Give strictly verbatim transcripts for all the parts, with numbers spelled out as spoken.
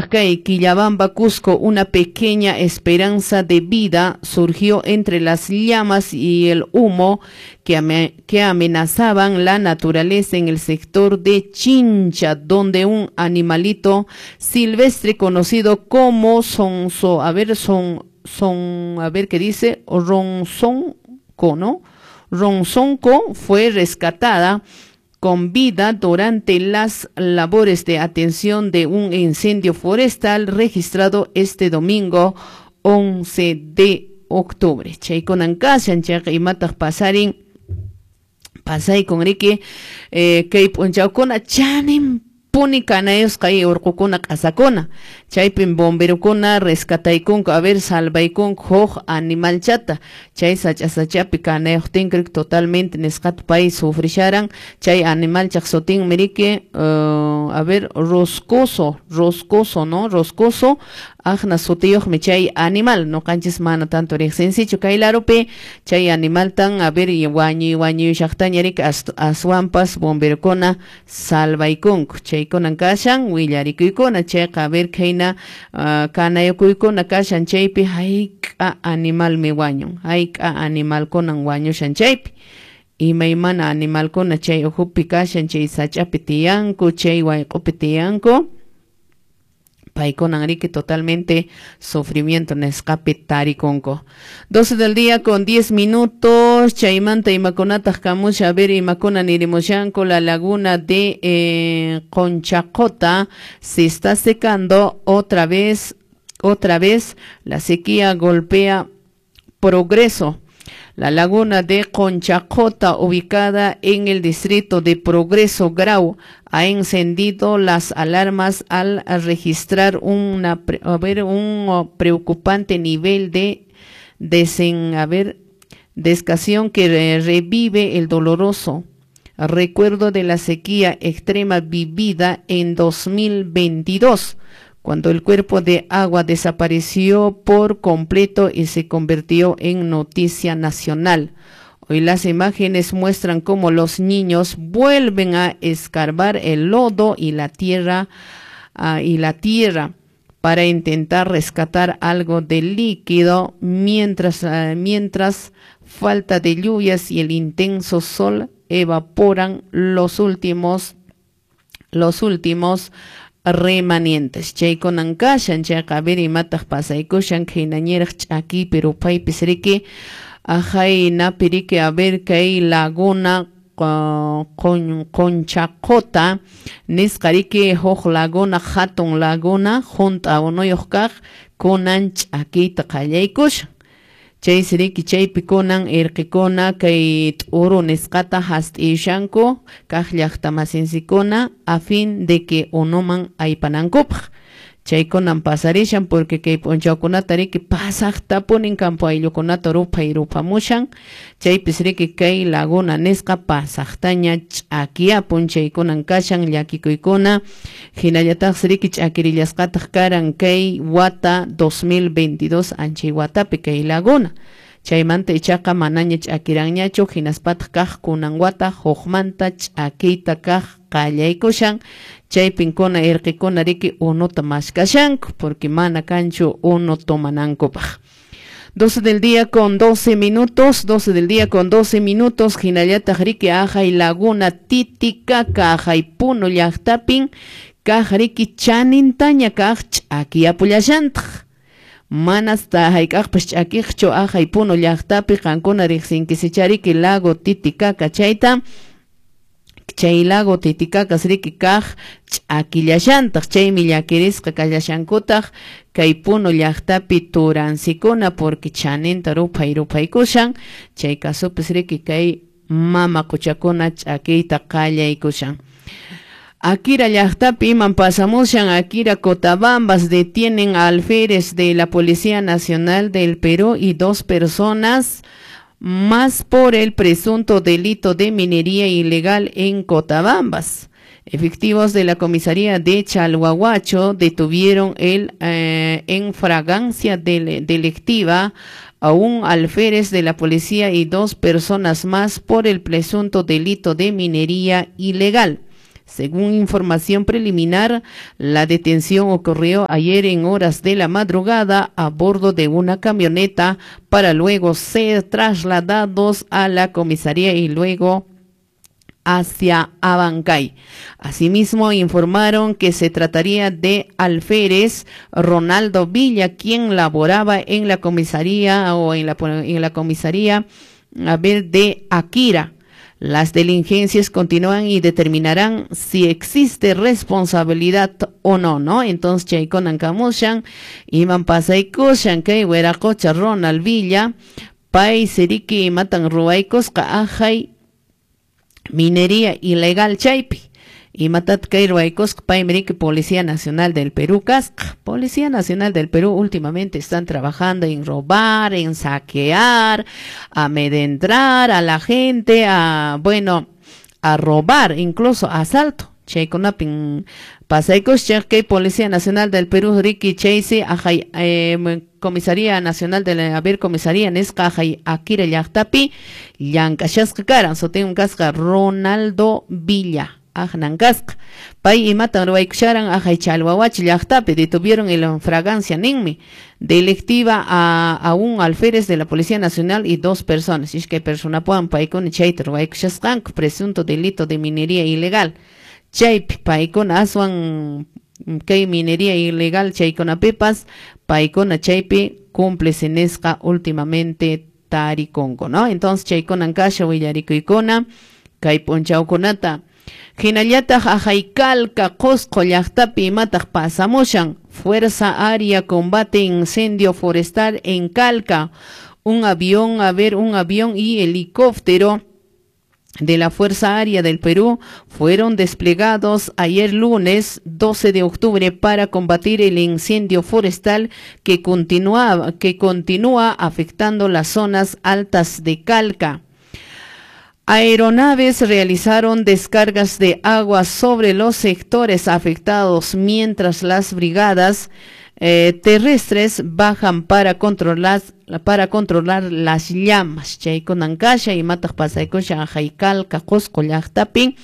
Kay Quillabamba, Cusco, una pequeña esperanza de vida surgió entre las llamas y el humo que, ame, que amenazaban la naturaleza en el sector de Chincha, donde un animalito silvestre conocido como sonso, a ver, son, son, a ver qué dice, ronzonco, ¿no? Ronzonco fue rescatada con vida durante las labores de atención de un incendio forestal registrado este domingo once de octubre. Chaykunan kashan, chayqa imataq pasarin, pasaykun riki, eh, kay p'unchawkuna chanin puni kanayusqa urqukuna q'asakuna, chaypin bomberokuna rescataykunku, a ver, salvaykunku huk animalchata, chay sacha sachapi kanayuqtin totalmente nisqata pay sufrisharan, chay animalchaq sutinmi riki, uh, a ver, roscoso, roscoso, ¿no? Roscoso, aqna sutiyuqmi chay animal, nuqanchis mana tanto riqsinsichu kay larupi, chay animaltan, a ver, wañuy wañuyushaqtaña riki aswanpas bomberokuna salvaykunku, chaykunan kashan willarikuykuna, chayqa a ver khayna uh, kanayukuykuna kashan chaypi hayk'a animalmi wañun, hayk'a animalkunan wañushan chaypi, imaymana animalkuna chay ukhupi kashan, chay sach'api tiyanku, chay wayq'upi tiyanku, paykunan riki totalmente sufrimiento nisqapi tarikunku. doce del día con diez minutos, chaymanta imakunataq kamusha, a ver, imakuna nirimushanku, la laguna de eh, Conchacota se está secando otra vez, otra vez la sequía golpea Progreso. La laguna de Conchacota, ubicada en el distrito de Progreso Grau, ha encendido las alarmas al registrar una, a ver, un preocupante nivel de desen, a ver, descación que revive el doloroso recuerdo de la sequía extrema vivida en dos mil veintidós, cuando el cuerpo de agua desapareció por completo y se convirtió en noticia nacional. Hoy las imágenes muestran cómo los niños vuelven a escarbar el lodo y la tierra, uh, y la tierra para intentar rescatar algo de líquido, mientras, uh, mientras falta de lluvias y el intenso sol evaporan los últimos, los últimos remanentes. Chaykunan kashan, chayqa a ver imataq pasaykushan, khaynañiraq ch'akipi rupaypis riki, ajaynapi riki, a ver kay laguna Conchacota nisqa riki huk laguna, hatun laguna, hunt'a unuyuq kaq, kunan ch'akiyta qallaykushan. Chaysi riki chaypi kunan irqikuna kay t'uru nisqata hast'iyushanku kaq llaqtamasinsikuna a fin de que unuman aypanankupaq. Chaykunan pasarishan porque kay p'unchawkunata riki pasaqtapunin campo ayllukunata ruphay ruphamushan, chaypis riki kay laguna nisqa pasaqtaña ch'akiyapun, chaykunan kashan llakikuykuna, hinallataqsi riki ch'akirillasqataq karan kay wata dos mil veintidós anchay watapi kay laguna. Chaymanta ichaqa manaña ch'akiranñachu, hinaspataq kaq kunan wata hukmanta ch'akiyta kaq qallaykushan, chaypinkuna irqikuna riki unuta maskashanku porque mana kanchu unu tomanankupaq. doce del día con doce minutos, doce del día con doce minutos, hinallataq riki ajay laguna Titicaca, ajay Puno llaqtapin, kaq riki chanintaña kaq ch'akiyapullashantaq. Manas ta hayk'aqpas ch'akiqchu ajay Puno llaqtapi qankuna riqsinkisichariki lago Titicaca chayta, chay lago Titicaca riki kaq ch'akillashantaq, chaymi llakirisqa kallashankutaq kay Puno llaqtapi turansikuna porque chaninta ruphay ruphaykushan, chay kasupis riki kay mama quchakuna ch'akiyta qallaykushan. Akira llaqtapi iman pasamushan, Akira Cotabambas detienen a alférez de la Policía Nacional del Perú y dos personas más por el presunto delito de minería ilegal en Cotabambas. Efectivos de la comisaría de Chalhuahuacho detuvieron el, eh, en fragancia del, delictiva a un alférez de la policía y dos personas más por el presunto delito de minería ilegal. Según información preliminar, la detención ocurrió ayer en horas de la madrugada a bordo de una camioneta para luego ser trasladados a la comisaría y luego hacia Abancay. Asimismo, informaron que se trataría de alférez Ronaldo Villa, quien laboraba en la comisaría o en la, en la comisaría a ver, de Akira. Las diligencias continúan y determinarán si existe responsabilidad o no, ¿no? Entonces, chaykunan kamushan, iman pasaykushan, kay wiraqocha Ronald Villa, pay siriki imatan ruwaykusqa ahay minería ilegal chaypi. Imatat kay ruwaykusqa paymi riki Policía Nacional del Perú kasqa. Policía Nacional del Perú últimamente están trabajando en robar, en saquear, a amedrentar a la gente, a, bueno, a robar, incluso asalto. Chaykunapin pasaykusqa kay Policía Nacional del Perú riki chaysi ahay eh, Comisaría Nacional de la, a ver, Comisaría nisqa ahay Akira llaqtapi llank'ashasqa karan, sutin kasqa Ronaldo Villa. Aqnan kasqa. Pay imatan ruwaykusharan ahay Chalhuahuachi llaqtapi detuvieron en fragancia ninmi delictiva a, a un alférez de la Policía Nacional y dos personas. Iskay personapuan paykuna chayta ruwaykushasqanku presunto delito de minería ilegal. Chaypi paykuna aswan kay minería ilegal chaykunapipas paykuna chaypi cómplice nisqa últimamente tarikunku, ¿no? Entonces chaykunan kasha willarikuykuna kay p'unchawkunata. Hinallataq ahay Calca Qosqo llaqtapi imataq pasamushan. Fuerza Aérea combate incendio forestal en Calca. Un avión, a ver, un avión y helicóptero de la Fuerza Aérea del Perú fueron desplegados ayer lunes doce de octubre para combatir el incendio forestal que continúa, que continúa afectando las zonas altas de Calca. Aeronaves realizaron descargas de agua sobre los sectores afectados mientras las brigadas eh, terrestres bajan para controlar, para controlar las llamas. Chaykunan kasha imataq pasaykusha ahay Calca Qosqo llaqtapi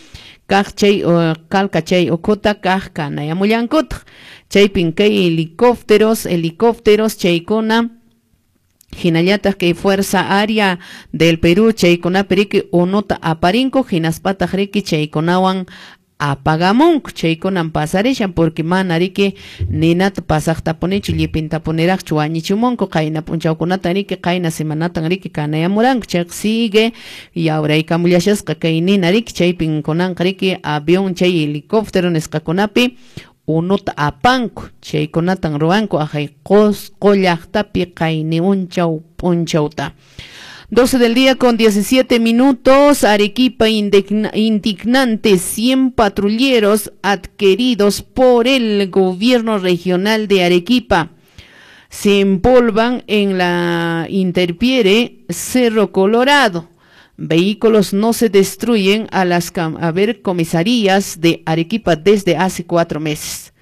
kaq chay Calca chay ukhuta kaq kanayamullankutaq. Chaypin kay helicópteros, helicópteros chaykuna hinallataq kay Fuerza Aérea del Perú chaykunapi riki unuta aparinku hinaspataq riki chaykunawan apagamunku. Chaykunan pasarishan porque mana riki ninata pasaqtapunichu llipintapuniraqchu wañichimunku qayna p'unchawkunata riki qayna semanatan riki kanayamuranku. Chayqa sigue yawraykamullashasqa kay nina riki chaypin kunanqa riki avión chay helicóptero nisqakunapi unuta apanku chaykunatan ruwanku ahay Qosqo llaqtapi qayni unchaw p'unchawta. doce del día con diecisiete minutos. Arequipa indigna, indignante, cien patrulleros adquiridos por el gobierno regional de Arequipa se empolvan en la intemperie Cerro Colorado. Vehículos no se destruyen a las a ver, comisarías de Arequipa desde hace cuatro meses.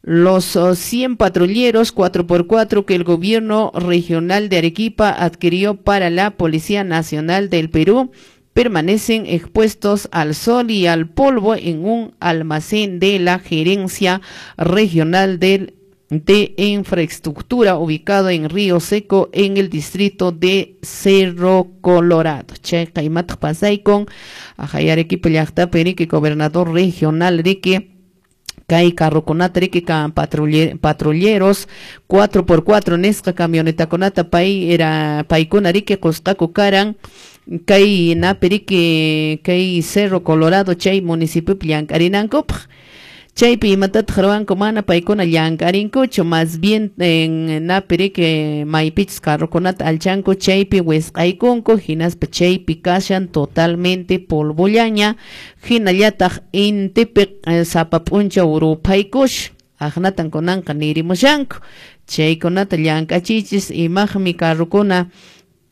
Los cien patrulleros cuatro por cuatro que el gobierno regional de Arequipa adquirió para la Policía Nacional del Perú permanecen expuestos al sol y al polvo en un almacén de la Gerencia Regional del de Infraestructura ubicado en Río Seco en el distrito de Cerro Colorado. Chayqa imataq pasaykun ahay Arequipa llaqtapi riki gobernador regional riki kay carrokunata riki patrulleros cuatro por cuatro nisqa camionetakunata pay era paykuna riki qusqaku karan kay napi riki kay Cerro Colorado chay municipiopi llank'arinankupaq. Chaypi imatataq ruwanku mana paykuna llank'arinkuchu, más bien en napi riki maypichus carrokunata alchanku chaypi wisq'aykunku hinaspa chaypi kashan totalmente polvollaña hinallataq intipi sapa p'unchaw ruphaykushan aqnatan kunanqa nirimushanku chaykunata llank'achiychis imaqmi carrokuna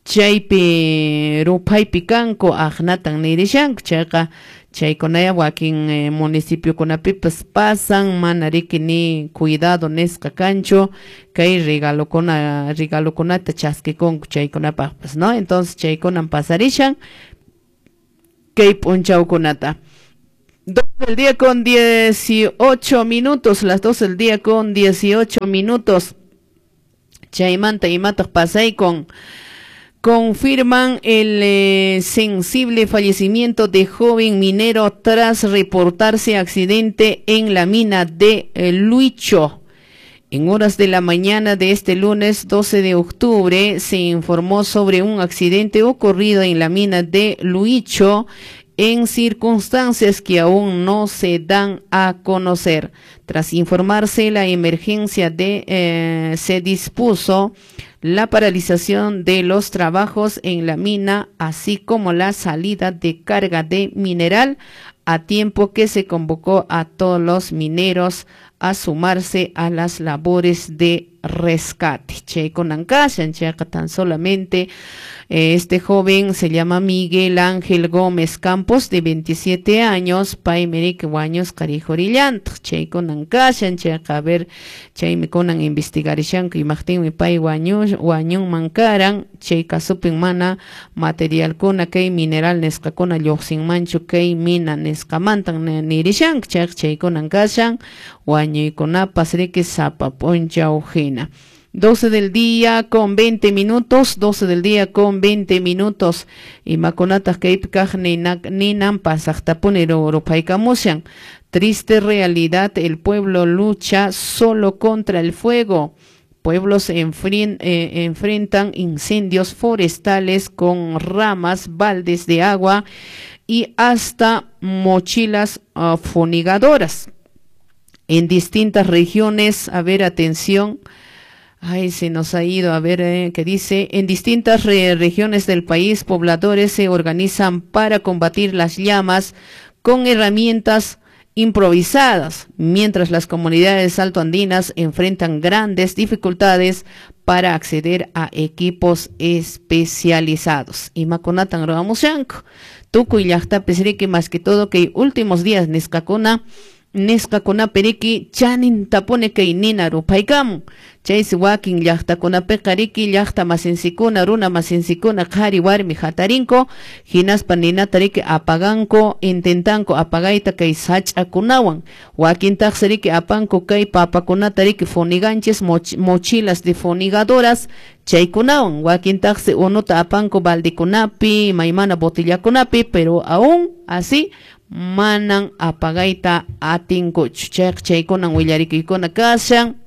chaypi ruphaypi kanku aqnatan nirishanku. Chayqa chaykunaya wakin eh, municipiokunapipas pasan mana riki ni cuidado nisqa kanchu kay regalokuna regalokunata chaskikunku chaykunapaqpas, ¿no? Entonces chaykunan pasarishan kay p'unchawkunata. Dos del día con dieciocho minutos, las dos del día con dieciocho minutos. Chaymanta imataq pasaykun. Confirman el eh, sensible fallecimiento de joven minero tras reportarse accidente en la mina de eh, Luicho. En horas de la mañana de este lunes doce de octubre se informó sobre un accidente ocurrido en la mina de Luicho en circunstancias que aún no se dan a conocer. Tras informarse la emergencia de, eh, se dispuso la paralización de los trabajos en la mina, así como la salida de carga de mineral, a tiempo que se convocó a todos los mineros a sumarse a las labores de rescate. Chaykunan kashan, chayqa tan solamente eh, este joven se llama Miguel Ángel Gómez Campos, de veintisiete años, paymi riki wañusqa rikhurillantaq. Chaykunan kashan, chayqa a ver, chaymi kunan investigarishanku imaqtinmi pay wañu wañunman karan, chay kasupin mana materialkuna kay mineral nisqakuna lluqsinmanchu kay mina nisqamantan nirishanku, chayqa chaykunan kashan wañuykunapas riki sapa p'unchaw hina. doce del día con veinte minutos, doce del día con veinte minutos. Imakunataq kaypi kaq ninan pasaqtapuni ruphaykamushan. Triste realidad, el pueblo lucha solo contra el fuego. Pueblos enfren, eh, enfrentan incendios forestales con ramas, baldes de agua y hasta mochilas uh, fumigadoras. En distintas regiones, a ver, atención, ay, se nos ha ido, a ver, eh, ¿qué dice? En distintas re regiones del país, pobladores se organizan para combatir las llamas con herramientas improvisadas, mientras las comunidades altoandinas enfrentan grandes dificultades para acceder a equipos especializados. Imakunatan ruwamushanku, tukuy llaqtapis riki más que todo que últimos días nisqakuna nisqakunapi riki chanintapuni kay nina ruphaykamun. Chaysi wakin llaqtakunapiqa riki llaqta masinsikuna, runa masinsikuna, qhari warmi hatarinku, hinaspa ninata riki apaganku, intentanku apagayta kay sach'akunawan. Wakintaqsi riki apanku kay papakunata riki funiganchis, moch mochilas de funigadoras chaykunawan. Wakintaqsi unuta apanku baldikunapi, imaymana botillakunapi, pero aún así manan apagayta atinkuchu. Chayqa chaykunan willarikuykuna kashan.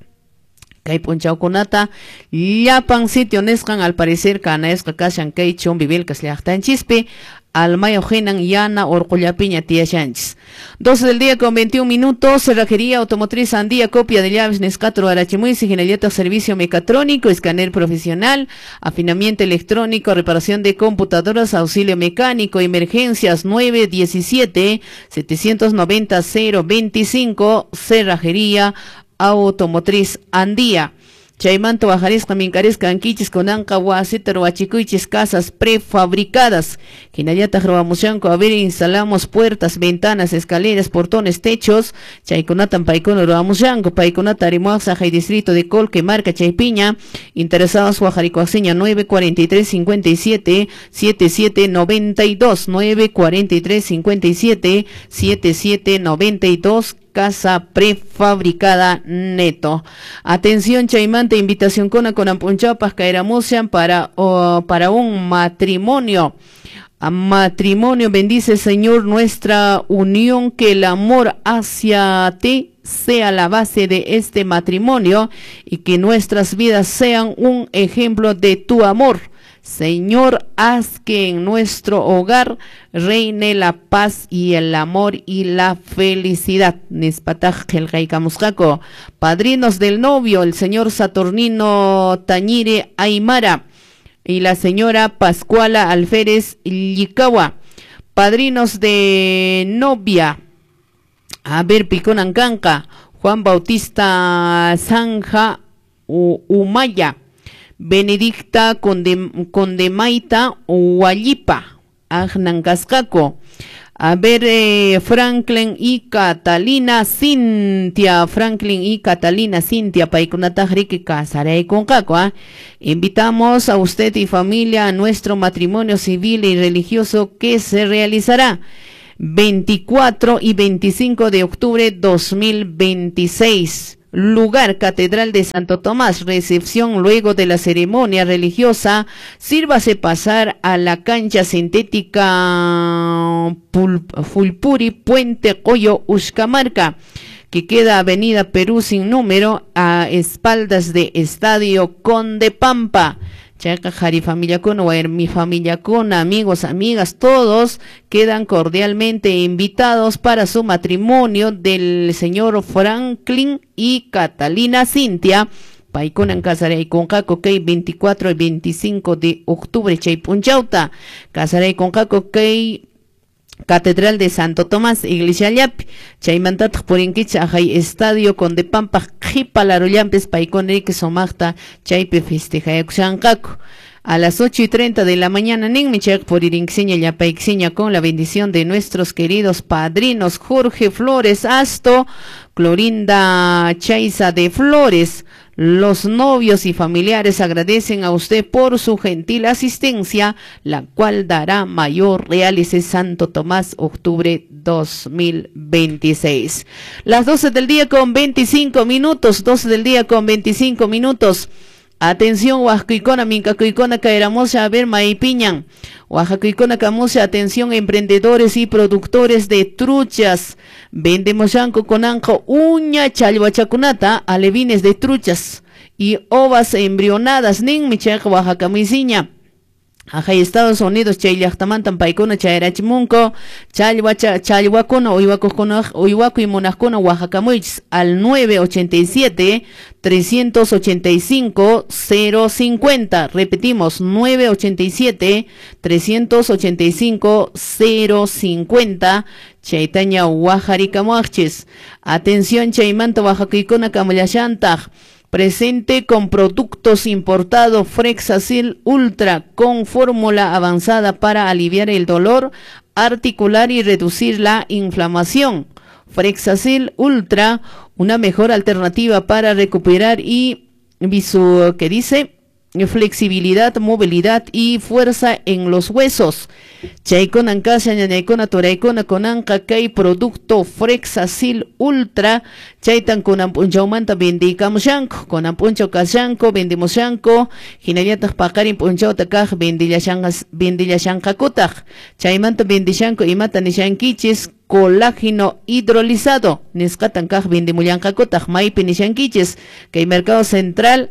Kay p'unchawkunata llapan sitio nisqan al parecer kanayasqa kashan kay Chumbivilcas llaqtanchispi, almayo hinan yana urqullapiña tiyashanchis. doce del día con veintiún minutos, Cerrajería Automotriz Andía, copia de llaves nisqata ruwarachimuisi, hinallataq servicio mecatrónico, escáner profesional, afinamiento electrónico, reparación de computadoras, auxilio mecánico, emergencias nueve diecisiete, setecientos noventa, cero veinticinco, Cerrajería Automotriz Andía. Chaymanta wajarisqa minkarisqa ankichis kunanqa wasita ruwachikuychis casas prefabricadas. Hinallataq ruwamushanku, a ver, instalamos puertas, ventanas, escaleras, portones, techos. Chaykunatan paykuna ruwamushanku, paykunata arimuaq Sajay distrito de Colque, marca Chaypiña. Interesados wajarikuaqsiña nueve cuarenta y tres cincuenta y siete, setenta y siete noventa y dos, nueve cuarenta y tres cincuenta y siete, setenta y siete noventa y dos. Casa prefabricada neto. Atención chaymanta, invitación con con ampunchapas caeramusian para, oh, para un matrimonio. A matrimonio, bendice Señor nuestra unión, que el amor hacia ti sea la base de este matrimonio y que nuestras vidas sean un ejemplo de tu amor. Señor, haz que en nuestro hogar reine la paz y el amor y la felicidad. Nispataj qillqaykamusqaku. Padrinos del novio, el señor Saturnino Tañire Aymara y la señora Pascuala Alférez Llicawa. Padrinos de novia, a ver, Piconancanca, Juan Bautista Zanja Humaya, Benedicta Conde, Condemaita Huallipa, Agnancascaco. A ver, eh, Franklin y Catalina Cintia, Franklin y Catalina Cintia, paykunataq riki kasaraykunqaku, ¿ah? Invitamos a usted y familia a nuestro matrimonio civil y religioso que se realizará veinticuatro y veinticinco de octubre dos mil veintiséis. Lugar, Catedral de Santo Tomás. Recepción luego de la ceremonia religiosa. Sírvase pasar a la cancha sintética Pul Fulpuri, Puente Coyo, Uxcamarca, que queda Avenida Perú sin número, a espaldas de Estadio Conde Pampa. Chaca, Jari familia con, mi familia con, amigos, amigas, todos quedan cordialmente invitados para su matrimonio del señor Franklin y Catalina Cintia. Paikunan casaray con Caco, kay veinticuatro y veinticinco de octubre, Chaypunchauta. Casaray con Caco, kay Catedral de Santo Tomás, Iglesia Llapi, chaymantataq purinkichik ajay Estadio Conde Pampa, qhipa larullampis paykunariki sumaqta chaypi festejayakushanqaku. A las ocho y treinta de la mañana, ninmi chayqa puririnkiseña llapaykiseña con la bendición de nuestros queridos padrinos Jorge Flores Asto, Clorinda Chaiza de Flores. Los novios y familiares agradecen a usted por su gentil asistencia, la cual dará mayor realce. Santo Tomás, octubre dos mil veintiséis. Las doce del día con veinticinco minutos, doce del día con veinticinco minutos. Atención, Oaxacuicona, Mincacuicona, Caeramosa, a ver, Maipiñan. Oaxacuicona, Camusa, atención, emprendedores y productores de truchas. Vendemos yanco con anjo, uña, chalhuachacunata, alevines de truchas y ovas embrionadas. Nin, michaca, Oaxaca, misiña. Ajay Estados Unidos, chay llaqtamantan paykuna chayarachimunku, challwa challwakuna uywakukuna uywakuy munaqkuna Oaxacamuychis al nueve ochenta y siete, trescientos ochenta y cinco, cero cincuenta. Repetimos, nueve ochenta y siete, trescientos ochenta y cinco, cero cincuenta. Chaytaña Oaxaricamuachis. Atención, chaymanta Oaxacuykuna kamullashantaj. Presente con productos importados Frexacil Ultra con fórmula avanzada para aliviar el dolor articular y reducir la inflamación. Frexacil Ultra, una mejor alternativa para recuperar y visu, que dice flexibilidad, movilidad y fuerza en los huesos. Chaykuna ankasha ñañaykuna turaykuna kunanqa kay producto Frexacil Ultra chaytan kunan p'unchawmanta vendiykamushanku, kunan p'unchaw kashanku vendimushanku, hinallataq paqarin p'unchawta kaq vendillashanqas vendillashanqakutaq. Chaymanta vendishanku imata nishankichis colágeno hidrolizado nisqatan kaq vendimullanqakutaq maypi nishankichis kay Mercado Central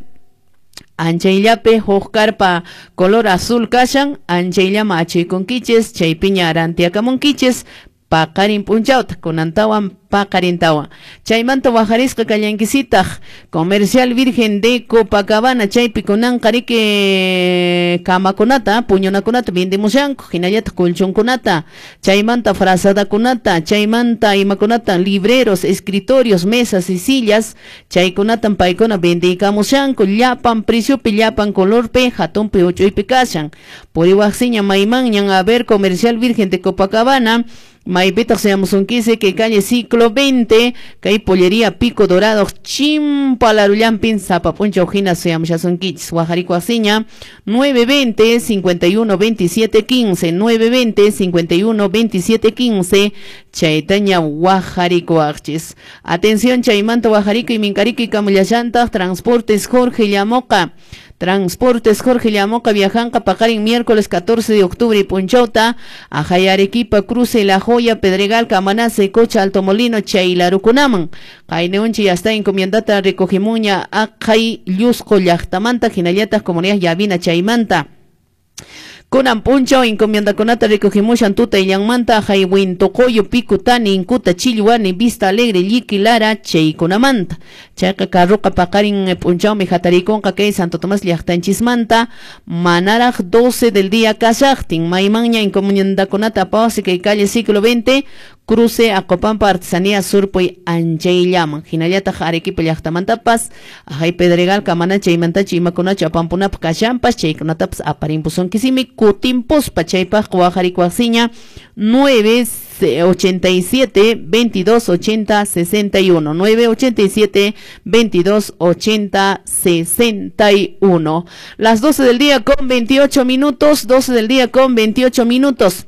anchayllapi huk carpa color azul kashan, anchayllama achuykunkichis, chaypiña arantiakamunkichis, paqarin p'unchawta, kunantawan paqarintawan. Chaymanta wajarisqa kallankisitaq, Comercial Virgen de Copacabana, chaypi kunanqa riki kamakunata, puñunakunata vendemushanku, hinallataq colchonkunata, chaymanta frazadakunata, chaymanta imakunata, libreros, escritorios, mesas y sillas, chaykunatan paykuna vendiykamushanku, llapan preciopi, llapan colorpi, hatunpi uchuypi kashan. Puriwaqsiña maymanñan a ver Comercial Virgen de Copacabana, maypitaq seamusunquise que calle Ciclo veinte, kay pollería Pico Dorado, Chimpalarullampin, Zapapuncha Ojina, seamushasunquichis, Oaxaricuaciña, nueve veinte, cincuenta y uno, veintisiete, quince, nueve veinte, cincuenta y uno, veintisiete, quince, Chaytaña Oaxaricuachis. Atención, Chaymanta, Oaxarico y Mincarico y Camuyallanta, Transportes Jorge Llamoca. Transportes Jorge Llamoca viajanca paqarin miércoles catorce de octubre y Punchauta, Ajay Arequipa, Cruce La Joya, Pedregal, Camanace, Cocha, Alto Molino, Chaylarukunaman. Qayneunchi ya está encomiendata recogimuña Ajay Llusco llaqtamanta, hinallatas comunidad Yavina Chaymanta. Kunan punchaw encomiendakunata recogimushan tuta illanmanta ajay Wintocoyo, Picutani, Incuta, Chilluani, Vista Alegre, Lliquilara, Chaykunamanta. Chayqa carruqa paqarin punchawmi hatarikunqa kay Santo Tomás llaqtanchismanta, manaraq doce del día kashaqtin, maymanña encomiendakunata apawasi kay calle Siglo veinte, cruce Acopampa, Artesanía Surpuy, Anchayllaman. Hinallataq Arequipa llaqtamantapas, ajay Pedregal, Camana, chaymantachi imakunachu apampunapaq kashanpas, chaykunatapas aparimpusunkisimi, kutinpuspa chaypaq Oaxaricuaciña, nueve ochenta y siete, veintidós, ochenta, sesenta y uno, nueve ochenta y siete, veintidós, ochenta, sesenta y uno. Las doce del día con veintiocho minutos, doce del día con veintiocho minutos.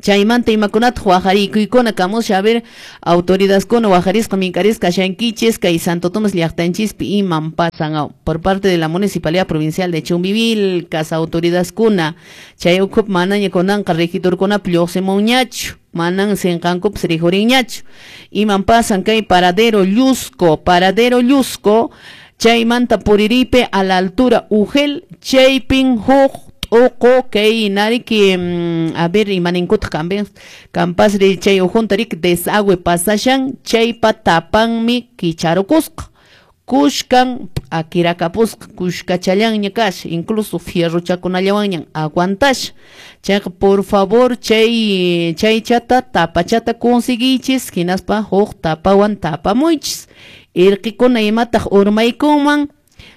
Chaymanta imakunataq waqarikuykuna kamusha, a ver, autoridadkuna waqarisqa minkarisqa kashankichis kay Santo Tomás llaqtanchispi iman pasan por parte de la Municipalidad Provincial de Chumbivilcas autoridadkuna chay ukhupi manaña kunanqa regidorkunapi lluqsimunñachu, manan sinqankupas rikurinñachu. Iman pasan kay paradero Llusco, paradero Llusco, chaymanta puriripe a la altura Ugel, chaypin huk t'uqu kay nariki, a ver, imaninkutaq kampen kampasri chay ujunta riki desagüe pasashan chaypa tapanmi kicharukusqa, kushkan p'akirakapusqa, kushkachallanña kasha, incluso fierrochakunallawanñan aguantasha. Chayqa por favor chay chaychata tapachata conseguichis hinaspa huk tapawan tapamuychis. Irqikuna imataq urmaykunman,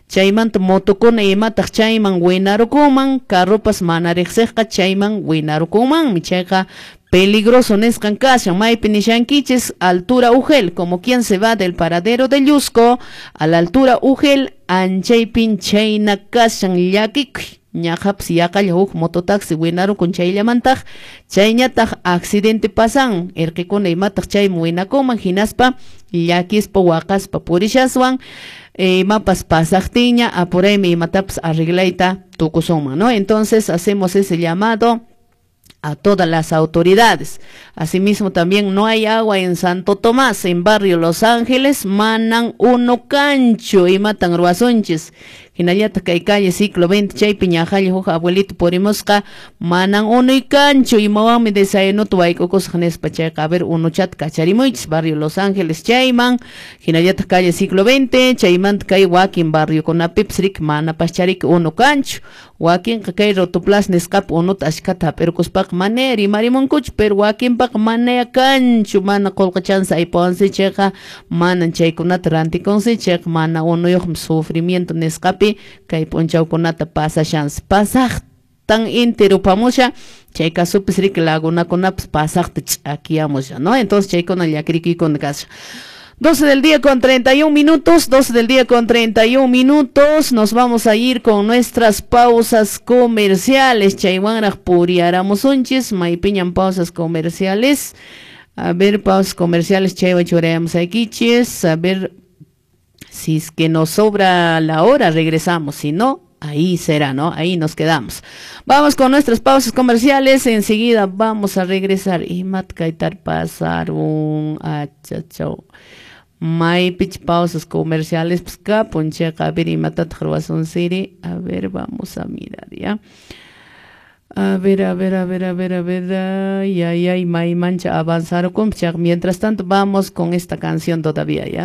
chaymanta motokuna imataq chayman winarukunman, carropas mana riqsiqqa chayman winarukunmanmi. Chayqa peligroso nisqan kashan. Maypi nishankichis altura Ugel, como quien se va del paradero de Llusco a la altura Ugel, anchaypin chayna kashan llakikuy. Ñaqhapas yaqalla huk mototaxi winarukun chayllamantaq, chayñataq accidente pasan, irqikuna imataq chayman winakunman, hinaspa llakispa waqaspa purishaswan imapas pasaqtinña apuraymi imatapas arreglayta tukusunman, ¿no? Entonces hacemos ese llamado a todas las autoridades. Asimismo también no hay agua en Santo Tomás, en barrio Los Ángeles, manan uno cancho y matan ruazonches. Hinallataq kay calle siglo veinte chaypi ñaqalla huk abuelito purimusqa manan uno y cancho imawanmi desayunuta wayk'ukusaq nispa. Chayqa a ver unuchata kacharimuychis barrio Los Ángeles chayman, hinallataq calle siglo veinte chaymanta kay wakin barriokunapipis riki manapaschariki unu kanchu. Wakinqa kay Rotoplas nisqapi unuta ashkhata hap'irkuspaqa mana rimarimunkuchu, pero wakinpaqa manaya kanchu, mana qullqichansi aypawansi chayqa manan chaykunata rantikunsi chayqa mana unuyuqmi sufrimiento nisqapi kay p'unchawkunata pasashansi. Pasaqtan inti rupamusha chay kasupis riki lagunakunapas pasaqta ch'akiyamusha, ¿no? Entonces chaykuna llakirikuykuna kasha. doce del día con treinta y un minutos, doce del día con treinta y un minutos, nos vamos a ir con nuestras pausas comerciales. Chaywanraq puriaramusunchis, maypiñan pausas comerciales. A ver, pausas comerciales, chaywan churayamos akichis. A ver, si es que nos sobra la hora, regresamos, si no, ahí será, ¿no? Ahí nos quedamos. Vamos con nuestras pausas comerciales, enseguida vamos a regresar. Y matkaitar pasar un achachau. Maypich pausas comerciales, pues kapuncheqa, a ver, y matataq ruwasun siri. A ver, vamos a mirar, ¿ya? A ver, a ver, a ver, a ver, a ver, ay, ay, ay, may mancha avanzar. Mientras tanto, vamos con esta canción todavía, ¿ya?